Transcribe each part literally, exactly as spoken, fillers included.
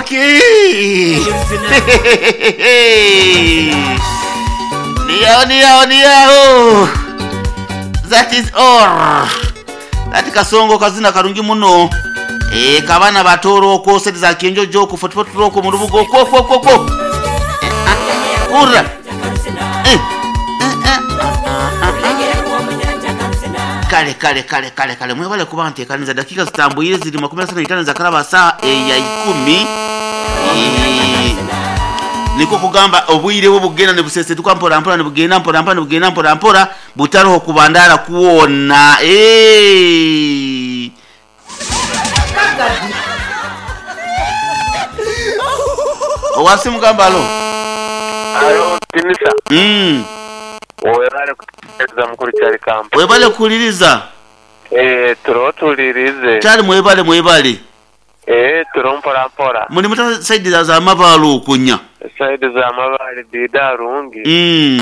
Okay. Niyaho, niyaho, niyaho. That is all. Ati kasongo kazina karungi muno. Eh, kabana batoro ko sedi za kenjojo ku forty-four ko mu rubugo ko ko ko ko. Ura. Eh. Eh, eh. Kale kale kale kale kale mwebale kuba nteekaniza dakika zitambuyire ziri makumi asatu na itaano za kalaba saa eya ikumi. Eh, niko kugamba obwire bwo bugenda ne busesetuka mpora mpora ne bugenda mpora mpora ne bugenda mpora mpora butaroho kubandara kuwona. Eh, owasi mugamba alo. Alo Timisa. Mm. Webale kutegereza mukuru kyali kampa. Webale kuliriza. Eh, turo tulirize. Kyali mwebale mwebale. Eh, turo mpora mpora. Muli muta saidi za za mabalo okunya. Saidi za mabali dida rungi. Mm.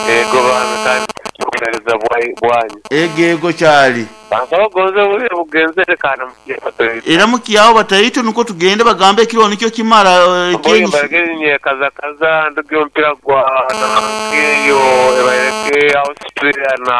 Ego bana kandi kutegereza bwanyu. Ego ego kyali. Bansaba gonze buli bugenzere kana mukiye batoyito. Era mukiyawo batayito nuko tugende bagambe ekiro nikyo kimara uh, kenyi. Bagende kaza kaza nduge ompira gwa nankeyo ebayeke Australia na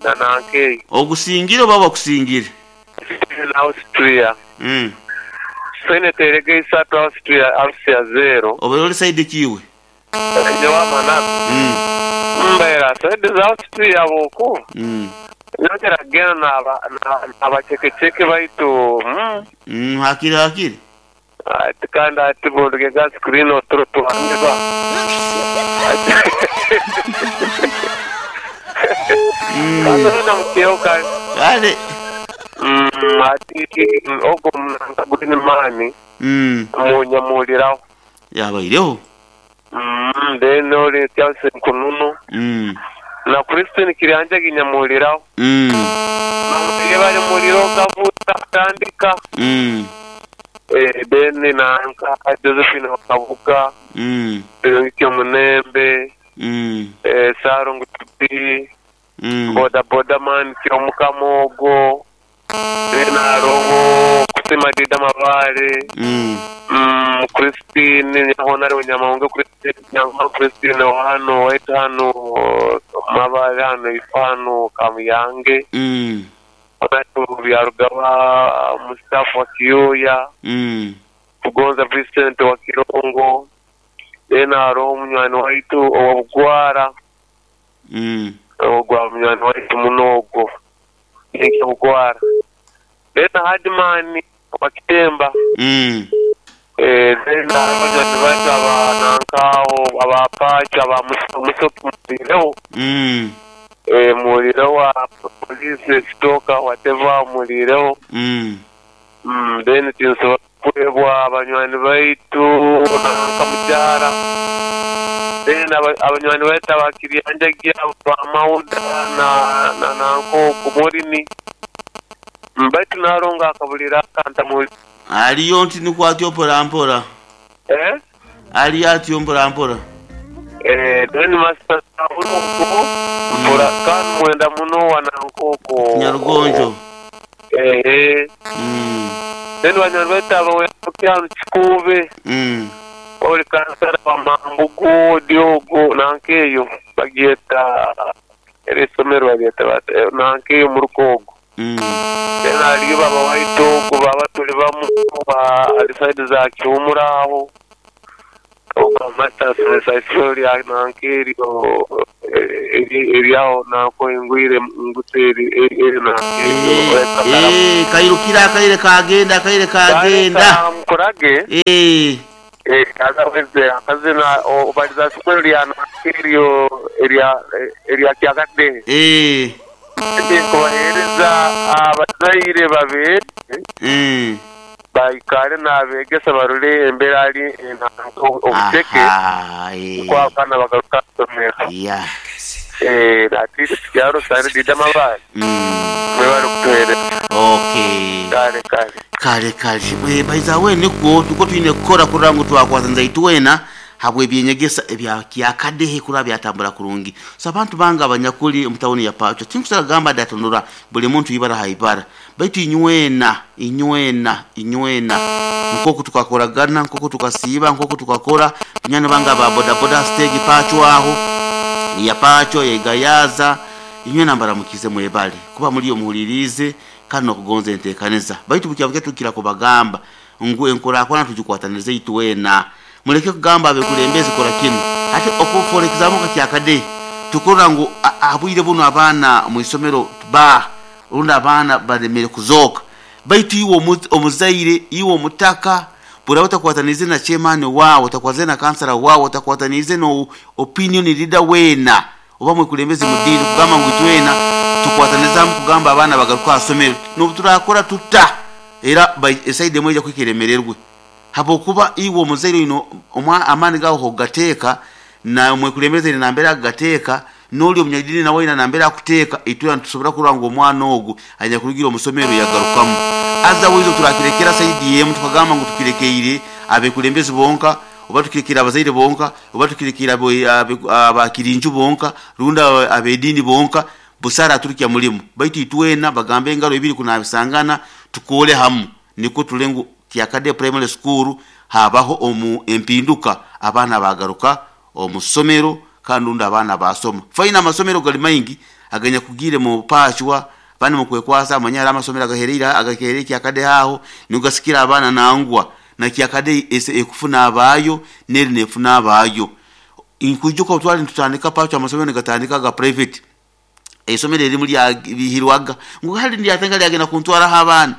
na nankeyo. Ogusingire baba kusingire. Na Austria. Mm. Senate erege isatu Austria Austria zero. Oberoli side kiwe. Njewa mana. Mm. Mbera side za Austria boko. Mm. Notera gena na na abachekecheke baitu. Mm. Mm, hakiri hakiri. Ati kanda ati bonduge ga screen otro tuandeba. Mm. Kanda na mkeo kan. Kale. Mm, ati ogo mnangagulini mani. Mm. Munyamuliraho. Yabaireho. Mm, then ori Chelsea kununu. Mm. Na Christine Kiranja ginyamuliraho. Mm. Namutire bali muliro gavuta tandika. Mm. Eh, then na nka Josephine Kabuga. Mm. Ngikyo Munembe. Mm. Eh, Sarungu Tupi. Mm. Boda boda man kyo mukamogo. Then aroho kusema dida mabare. Mm. Mm, Christine nyahonare nyamahunga Christine nyamahunga Christine hano wetano mabare hano ifano kamuyange. Mm. Wakati byarugaba Mustafa wa Kiyoya. Mm. Kugonza Vincent wa Kirongo. Then aroho munywani waitu owabugwara. Mm. Ogwa munywani waitu munogo. Nikyo bugwara. Then Hadman wa Kitemba. Mm. Eh, then abanywani baitu abanankaho abapacha abamusoki mulireho. Mm. Eh, mulireho wa police stoka whatever mulireho. Mm. Mm, then tinso kwebwa abanywani baitu nanka mujara. Then abanywani baitu abakiryanjagia bamauda na na nanko kumurini. Mbaitu naronga akabulira akanta muri. Aliyo nti nikwatyo mpora mpora. Eh? Ali atyo mpora mpora. Eh, then master uruko mpora kan mwenda muno wanankoko. Nyarugonjo. Eh eh. Mm. Then wanyarweta abawe kyanu chikube. Mm. Oli kansara wa mambugo diogo nankeyo bagieta erisomero bagieta nankeyo murukogo. Mm. Then aliyo baba waito ko baba tuli bamu ba aliside za kiumuraho. Oga master sensation ya nankeri o eriaho nako ingwire nguteri eri na eh kairukira kaire kagenda kaire kagenda mkurage eh eh kaza weze akazina obaliza sukuru ya nankeri eria eria kyakade eh ndikubahereza abazaire babiri mm baikare nabegesa barule embera ali obuteke kwa kana bagaruka somera yeah eh ati kyaro sare dida mabali mm mwebale kutuhereza. Okay, kale kale kale kale we baiza we niko tuko tuine kukora kurangu twakwaza nzaitu wena. Habwe byenyegesa ebya kyakadehe kura byatambura kurungi. So abantu banga abanyakuli omutawuni ya Pacho tinkusara gamba datonora buli muntu ibara haibara baitu inywena inywena inywena nkoko tukakoragana nkoko tukasiiba nkoko tukakora nyana banga ba boda boda stage Pacho aho ya Pacho yegayaza inywena mbaramukize mwebale kuba muri omuhulirize kandi nokugonza entekaneza baitu bukyabuke tukira kubagamba ngu enkorakwana tujikwatanirize itwena muleke kugamba abekulembezi kora kinu ate for example kyakade tukora ngu abwire buno abaana mu isomero ba runda abaana baremere kuzoka baitu iwo omuzaire iwo mutaka bura utakwatanize na chairman wao utakwatanize na kansala wao utakwatanize no opinion leader wena oba mwekulembezi mudini kugamba ngu itwena tukwataniza kugamba abaana bagaruka asomero no turakora tuta era by side mweja kwikiremererwe habokuba iwo muzaire ino omwa amani gawo hogateka na mwekulembeze na mbera gateka noli omunyadini na wena na mbera kuteka itwa ntusobora kuranga omwana ogu anya kurugira omusomero yagarukamu aza wizo turakirekera side yemu tukagamba ngu tukirekeire abekulembezi bonka oba tukirekera abazaire bonka oba tukirekera abakirinju bonka runda abedini bonka busara turukia mulimu baitu itwena bagambe engalo ebiri kunabisangana tukole hamu niko tulengu Kyakade Primary School habaho omu empinduka abaana bagaruka omusomero kandi unda abaana basoma faina amasomero gali maingi aganya kugire mu pachwa bani mu kwekwasa amanyara amasomero agaherera agakerera Kyakade haho nugasikira abaana nangwa na Kyakade ese ekufuna abayo neri nefuna abayo inkujuka utwali ntutandika pachwa amasomero gatandika ga private esomero erimu lya bihirwaga ngo hali ndi atenga lyagenda kuntwara abaana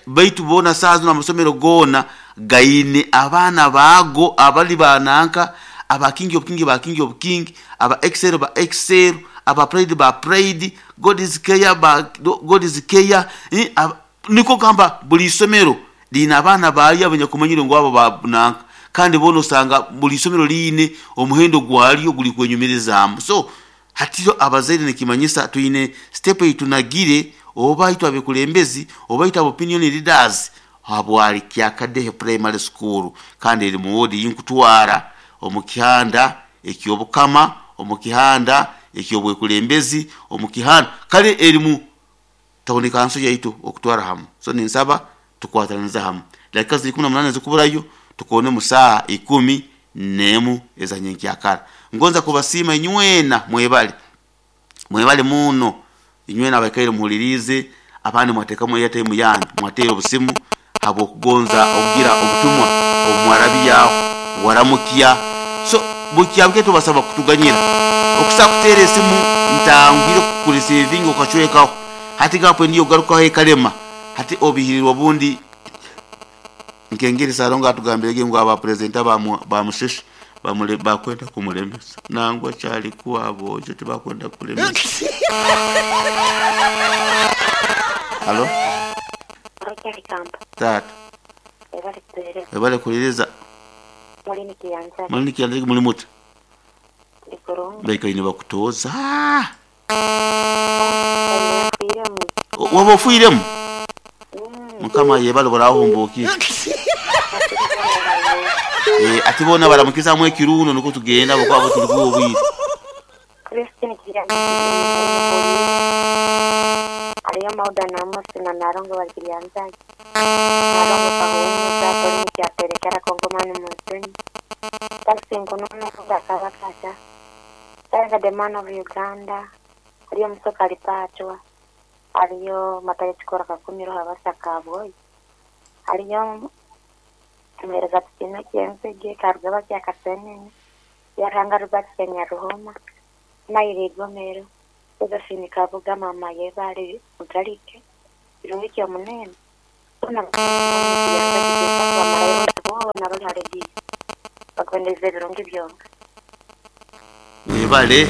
baitu bona sazo na masomero gona gaine abaana bago abali bananka aba king of king ba king of king aba excel ba excel aba pride ba pride God is care ba God is care eh, niko gamba buli somero lina abaana baali abanyakumanyire ngo abo bananka kandi bona osanga buli somero line omuhendo gwalyo guli kwenyumirizaamu. So hatiro abazaire nekimanyisa tuine step itunagire oba itwa abekulembezi oba itwa opinion leaders habwali Kyakadehe Primary School kandi eri mu wodi yinkutwara omukihanda ekyobukama omukihanda ekyobwekulembezi omukihanda kale eri mu tawuni kanso yaitu okutwara hamu. So ninsaba tukwataniriza hamu dakika ziri kumi na munane zikuburayo tukone mu saa ikumi nemu ezanyenkyakara. Ngonza kubasima inywena mwebale mwebale muno inywena abakaire muhulirize abandi mwatekamu airtime yanyu mwatere obusimu habo kugonza okugira obutumwa omwarabiya waramukia. So bukyabwe tubasaba kutuganyira okusa kutere esimu ntangwire kukureceivinga okachwekaho hati gapo ndiyo garuka hekalema hati obihirirwa bundi nkengeri salonga atugambirege ngo aba president ba ba musheshe bamule bakwenda kumulemesa nangwa cyalikuwa aboje tibakwenda kulemesa. Halo tata ebale kuliriza mulini kiyanza muli muti baikaine bakutoza waba ofuiremu mukama yebale borahumbuki eh ati bona baramukiza mu ekiruno nuko tugenda boko abo turi kubwira Christine Kirani ariyo mauda na musina narongo bakirianza narongo pahumu za polini kyaterekera kongomani musini taxi nkonono bakabakasha tanga the man of Uganda ariyo musoka alipachwa ariyo matale chikora kakumiro habasaka boy ariyo mwereza tusime kienzege karugaba kya kasenene yaranga rubati kenya ruhoma maire gomero Josephine Kabuga mama yebale mutalike birungi kya munene ona bakwendeze birungi byonka webale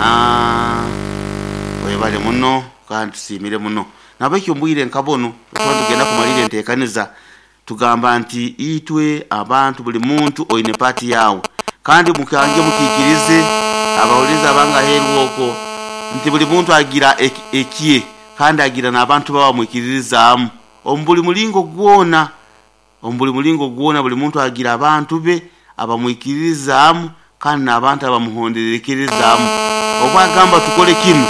aha webale muno kandi tusimire muno nabekyo mbwire nkabono tuba tugenda kumalira enteekaniza tugamba nti itwe abantu buli muntu oine pati yawe kandi mukange mukikirize abawuliza abanga herwoko nti buli muntu agira ekiye kandi agira n'abantu baba mwikiririzaamu omu buli mulingo gwona omu buli mulingo gwona buli muntu agira abantu be abamwikiririzaamu kandi n'abantu abamuhonderekerezaamu. Obu agamba tukole kinu,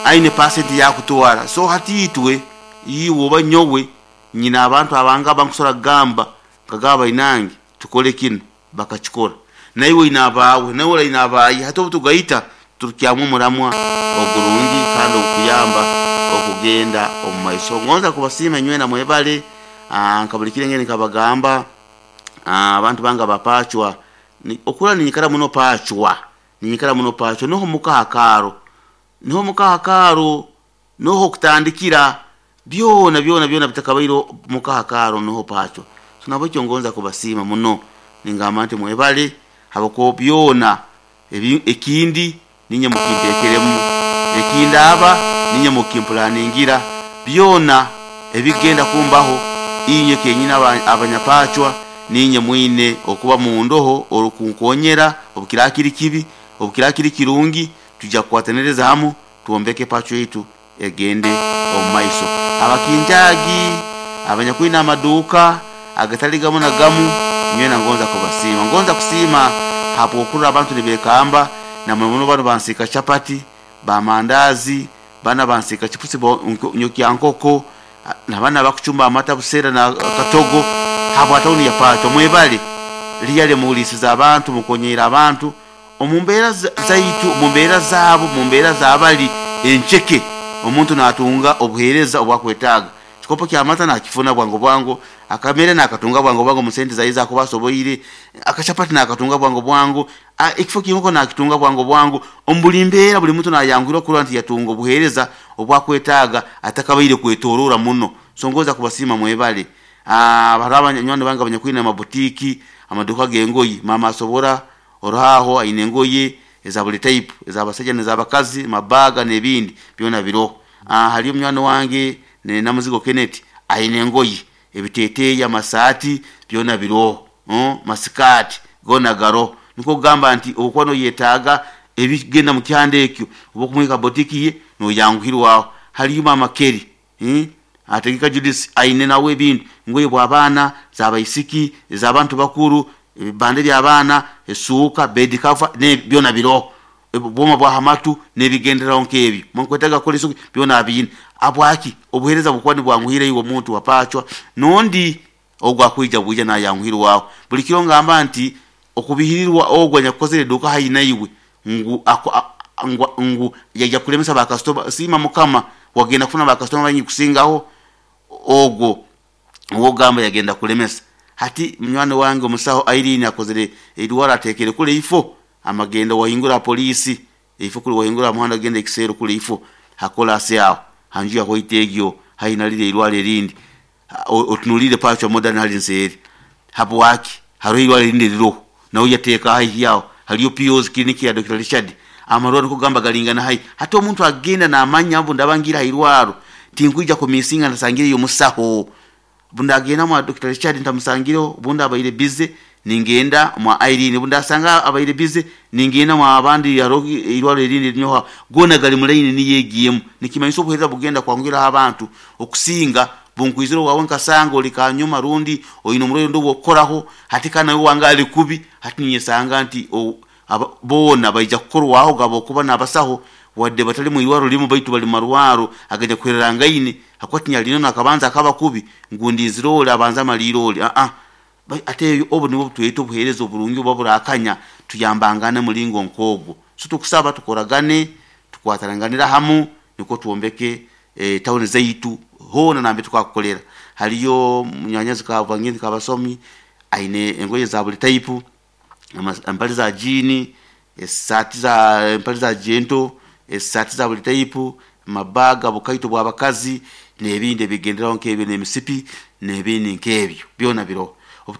aine pasenti yakutwara. So hati itwe, iwe oba nyowe, nyina abantu abanga abankusobora kugamba nkagamba bainange tukole kinu, bakakikora. Naiwe oine abaawe, naiwe oine abaaye. Hati obu tugaita turukyamu omuramwa ogurungi kandi ogukuyamba okugenda omu maiso. Ngonza kubasiima inywena mwebale. Nka buli kiro engeri nkabagamba, abantu bange abapachwa, okura ninyikara muno pachwa, ninyikara muno pachwa, noho muka hakaro, noho muka hakaro, noho okutandikira byona byona byona bitakabaire muka hakaro noho pachwa. So nabwekyo ngonza kubasiima muno, ningamba nti mwebale habwokuba byona ekindi ninye mukinteekeremu, ekindaba ninye mukimpulaningira, byona ebigenda kumbaho inywe kenyini abanyapachwa ninye mwine okuba mundoho orukunkonyera obukira kiri kibi, obukira kiri kirungi, tujja kukwataniriza hamu twombeke pachwa yaitu egende omu maiso. Abakinjagi, abanyakwine amaduuka agatali gamu na gamu, nywena ngonza kubasiima. Ngonza kusiima habwokurora abantu nibekamba, na muno muno banu bansiika chapati, bamandazi, bana bansiika chipusi nyokya nkoko, na bana bakuchumba amata busera na katogo habwa tauni ya Pachwa. Mwebale liyale muhulisiza abantu, mukonyera abantu omu mbeera zaitu, omu mbeera zaabo, mu mbeera zabali encheke, omuntu natunga obuheereza obwakwetaaga. Kikopo kya mata nakifuna bwangu bwangu, akamere nakatunga bwangu bwangu musente zaiza kuba asoboire, akachapati nakatunga bwangu bwangu, ekifo kinkoko nakitunga bwangu bwangu. Omu mbeera buli muntu nayangwirwa kurora nti yatunga obuheereza obwakwetaaga atakabaire kwetorora muno. So ngonza kubasiima mwebale. Hariho abanywani bange abanyakwine amabutiki, amaduka g'engoye, mama asobora oruhaho aine engoye eza buli type, ez'abasajja n'ez'abakazi, mabaga n'ebindi byona biroho. Hariyo munywani wange Namuzigo Kenneth aine engoye, ebiteeteeyi, amasaati byona biroho, masikaati goona garoho. Nikwo kugamba nti obukuba noyetaaga ebigenda mu kyanda ekyo, oba okumwika botiki ye noyanguhirwaho. Hariyo mama Kelly, ategeka Judith aine nawe ebintu, engoye bw'abaana, z'abaisiki, ez'abantu bakuru, ebibande by'abaana, esuuka, bed cover byona biroho. Obwoma bwa hamatu n'ebigenderaho nk'ebyo, mwankwetaaga kukora isuka byona abiine. Habwaki obuheereza bukuba nibwanguhire iwe omuntu wa Pachwa, n'ondi ogwo akwija bwija nayanguhirwaho. Buli kiro ngamba nti okubihirirwa ogwo anyakukozere eduuka haihi naiwe ngu ngu yaija kulemesa bakasitoma, siima Mukama wagenda kufuna bakasitoma baingi kusingaho ogwo ow'ogamba yagenda kulemesa. Hati munywani wange omusaho Irene akozere eirwaro ateekere kule ifo amagenda wahingura polisi, ifo kule wahingura muhanda genda ekiseero kule ifo hakolasi aho hanju ya white egyo haihi nalire eirwaro erindi, otunulire Pachwa Modern hali nseeri. Habwaki hariho eirwaro erindi eriroho nawe yateeka haihi aho, hariyo P O's clinic ya Doctor Richard, amarwaro nikugamba galingana haihi. Hati omuntu agenda namanya mbu ndaba ngira hairwaro tinkwija kumisinga ntasangireyo omusaho, bundi agenda mwa Doctor Richard ntamusangireho, bundi abaire busy ningenda mwa Irene, bundi asanga abaire busy ningenda mwa abandi hariho eirwaro erindi erinyoha, goona gali mu line niyo egiyemu. Nikimanyisa obuheereza bugenda kwangwiraho abantu okusinga bunkwizire wawe nkasanga oli kanyuma rundi oine omurwaire ondi ow'okukoraho, hati kandi nawe wange ali kubi. Hati ninyesanga nti boona baija kukorwaho gaba okuba n'abasaho wadde batali mu irwaro limu baitu bali mu marwaro agajya kuhererangaine, hakuba tinyalino nakabanza akaba kubi ngu ndinzire oli abanza amaliire oli aa ate obu nibwo tweta obuheereza oburungi obuba burakanya tuyambangane mulingo nk'ogwo. So tukusaba tukoragane, tukwataranganira hamu nikwo twombeke e, tawuni zaitu hoona nambe tukakukolera. Hariyo munyanyazi Kavangindi Kabasomi aine engoye za buli type, empale za jiini, esaati za empale za jento, esaati za buli type, mabaga, bukaito bw'abakazi n'ebindi ebigenderaho nk'ebyo n'emisipi n'ebindi nk'ebyo byona biroho.